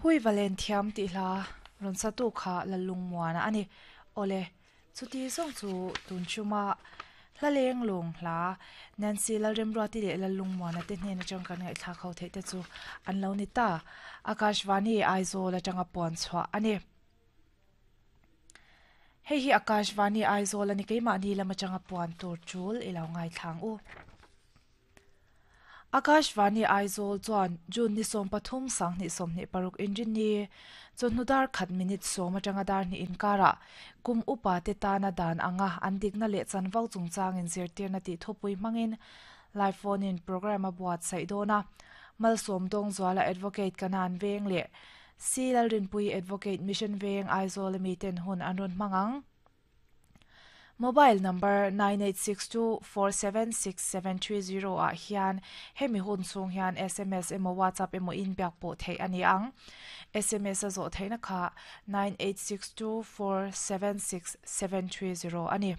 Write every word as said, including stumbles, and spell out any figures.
Hui valen thiam tih hla rawn sa tu kha Lalungmuana a ni. Awle, chuti zawng chu tun chuma hla leng lawng hla Nancy Lalremruati leh Lalungmuana te hnen atang kan ngaihthlak ho theih te chu an lo ni ta. Akashvani Aizawl atanga puan chhuah a ni. Hei hi Akashvani Aizawl a ni keimahni lam atanga puan tur tul i lo ngaithlang u. Akashvani Aizawl chuan June ni sawm pathum sanghnih sawmhnih paruk inrinni chawhnu dar khat minute sawm atanga dar hnih inkarah kum upa te tana dan anga an dikna leh chanvo chungchangin zirtirna tih thupui hmangin live phone in program a buatsaih dawn a. Malsawm Dawngzuala Advocate Kanan Veng leh C Lalrinpui Advocate Mission Veng Aizawl ami ten hun an rawn hmang ang. Mobile number nine eight six two four seven six seven three zero ah hian hemi hun chhung hian S M S emaw WhatsApp emaw in biak pawh theih a ni ang. S M S a zawh theihna kha nine eight six two four seven six seven three zero a ni.